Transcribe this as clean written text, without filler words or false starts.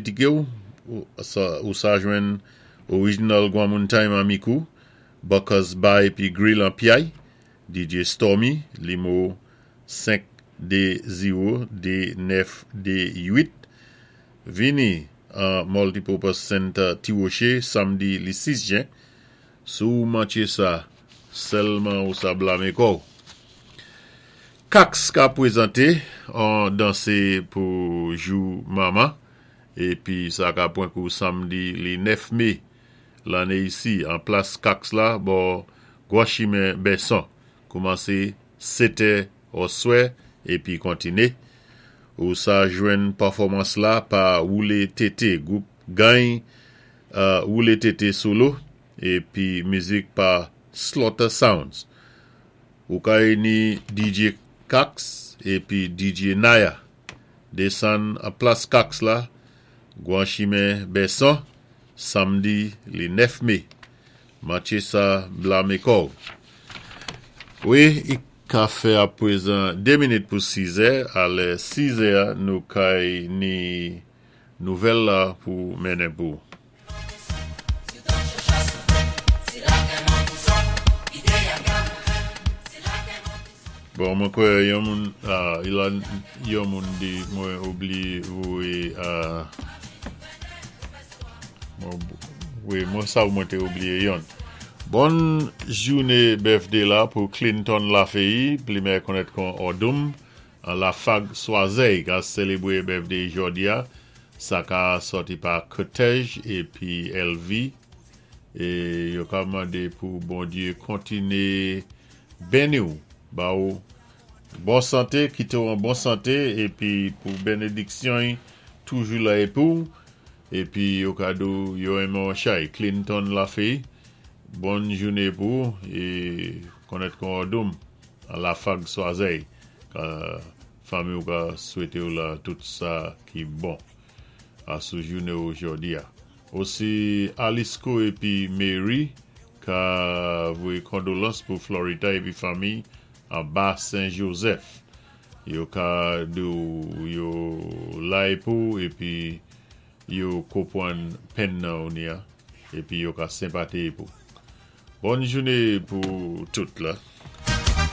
Ti Ké ou sa jwenn Original Gwanmoun Time an Mikou, Buckers Bar épi Grill an Piyay, DJ Stormy, limo 5 2 0 2 9 2 8. Vini an Multipurpose Center Ti Woché, samdi li 6 jen. Sou mantye sa, sèlman ou sa blamé kò. Kax ka pwézanté an dansé pou jou manman épi sa ka pwan kou samdi li 9 mé lanné isi an plas Kax la bò Gwan Chimen Bèson. Koumansé 7 oswè épi kontiné. Ou sa jwenn pèfòmans la pa Woulé Tété, gwoup Gany Woulé Tété solo épi mizik pa Slaughter Sounds. Ou kay ni DJ Kax épi DJ Naya. Désann an plas Kax la, Gwan Chimen Bèson, samdi li 9 mé. Mantye sa blamé kò. Wi, i ka fè apwézan 2 minit pou 6 è, a lè 6 è nou kay ni nouvèl la pou mennen pou. Bon, mwen kwè yon moun, ah, yon moun di mwen oubliyé voyé, ah, wi, mwen sa mwen té oubliyé yon. Bon jouné birthday la pou Clinton Lafayette, pli mèyè konnèt kon Odum, an La Fag Swazey, ka sélébwé birthday jòdi a, sa ka sòti pa Kotej épi LV, é yo ka mandé pou Bondyé kontiné béni ou, ba ou bon santé, kité ou an bon santé, épi pou bénédiksyon toujou la épi ou, épi yo ka di ou yo enmen ou chay. Clinton Lafayette, bon jouné pou ou, é konnèt kon Odum, an La Fag Swazey, ka fanmi ou ka swété ou la tout sa ki bon a sou jouné ou jòdi a. Osi Alisco épi Mary ka voyé kondolans pou Florida épi fanmi an ba Saint-Joseph. Yo ka di ou yo la pou épi yo konpwann penn nan ou ni a, épi yo ka senpati pou. Bon jouné pou tout la.